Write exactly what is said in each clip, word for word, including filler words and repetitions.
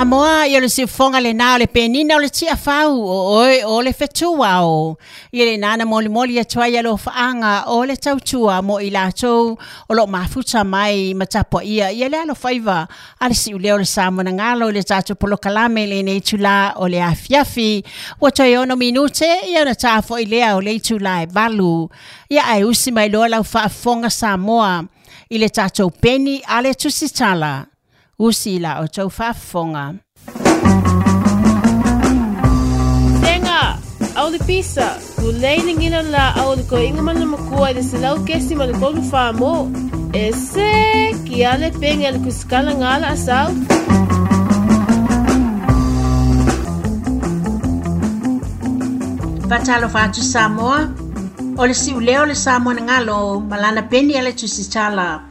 Moa ia le siufoga lenā o le penina o le tiafau o oe o le fetua o. Ia lenā na molimoli atu ai alofaaga o le tautua mo i latou o loo mafuta mai ma tapuaia ia le alofaiva a le siuleo o le Samoanagalo i le tatou polokalame lenei itulā o le afiafi. Ua toe ono minute ia ona ta fo'i lea o le itulā e valu. Ia ae usi mai loa lau faafofoga Samoa i le tatou peni a le tusitala. Usi la o tau faafofoga. Tenga, au le pisa, lulei le ngina la au le koinga mana makua i le selau kesi ma le kolu wha E se ki ale penge le kuskala ngala asau. Fatalofa atu Samoa, o le siuleo le Samoanagalo malana peni a le tusitala.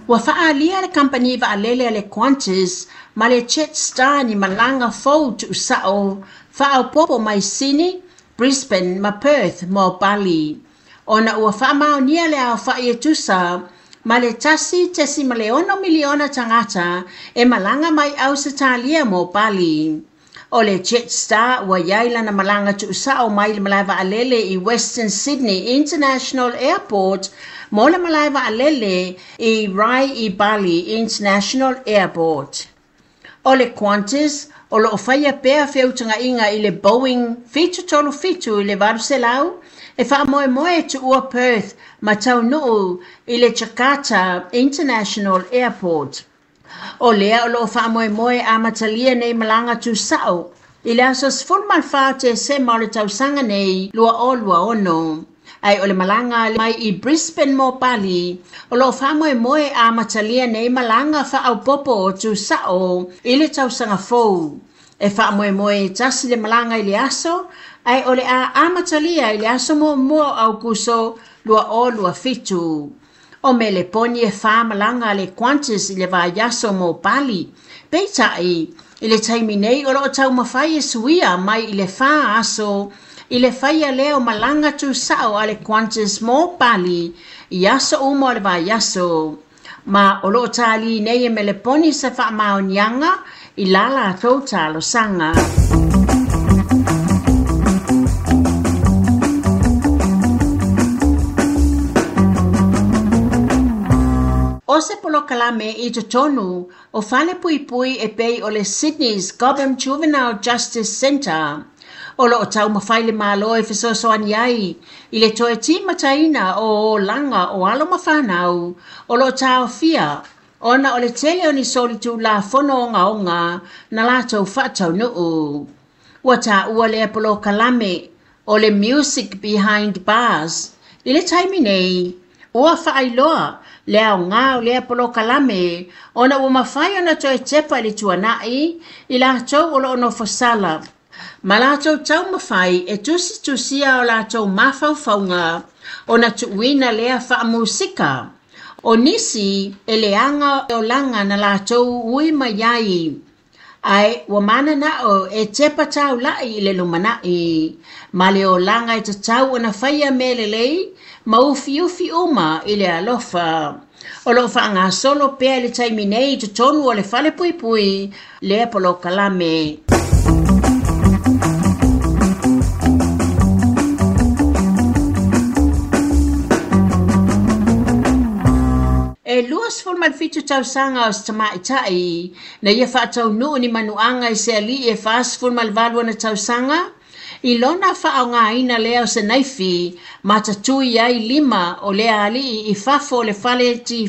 Ua faalia le kampani vaalele a le Qantas ma le Jetstar ni malaga fou tuusao faaopopo mai Sydney, Brisbane ma Perth mo Bali. Ona ua faamaonia le aofai e tusa ma le tasi tesima le ono miliona tagata e malaga mai Ausetalia mo Bali. O le Jetstar ua iai lana malaga tuusao mai le malae vaalele i Western Sydney International Airport mo le malae vaalele i Rai i Bali International Airport. O le Qantas o loo faia pea feutagaiga i le Boeing fitu tolu fitu i le valu selau e faamoemoe tuua Perth ma taunuu i le Jakarta International Airport. O lea o loo faamoemoe amatalia nei malaga tusao i le aso sefulu ma le fa o Tesema o le tausaga nei lua o lua ono. Ai o le malaga mai i Brisbane mo Bali o loo faamoemoe amatalia nei malaga faaopopo o tusao i le tausaga fou. E faamoemoe tasi le malaga i le aso ai o le a amatalia i le aso muamua o Aukuso lua o lua fitu. O Meleponi e wha malanga le Qantas i le vaiaso mo Bali. Peitai, i le taimi nei o loo taumafai e suia mai i le wha aso i le whaia leo malanga tusao a le Qantas mo Bali i aso uma o le vaiaso. Ma o loo tali nei e Meleponi sa whaamaonianga i la latou talosaga. O se polokalame i totonu o fale puipui e pei o le Sydney's Cobham Juvenile Justice Centre. O loo taumafai le Malo e fesoasoani ai i le toe timataina o olaga o alo ma fanau o loo taofia ona o le tele o ni solitulafono ogaoga na latou faataunuu. Ua taua lea polokalame o le Music Behind Bars. I le taimi nei, ua faailoa le aoga o lea polokalame ona ua mafai ona toe tepa i le tuanai i latou o loo nofosala. Ma latou taumafai e tusitusia o latou mafaufauga ona tuuina lea faamusika. O nisi e leaga olaga na latou ui mai ai. Ae ua mananao e tepa taulai i le lumanai. Ma le olaga e tatau ona faia mea lelei ma ufiufi uma i le alofa. O loo faagasolo pea i le taimi nei i totonu o le fale puipui lea polokalame. E lua sefulu ma le fitu tausaga o se tamaitai na ia faataunuu ni manuaga i se alii e fasefulu ma le valu ona tausaga i lona faaaogaina lea o se naifi ma tatui ai lima o lea alii i fafo o le fale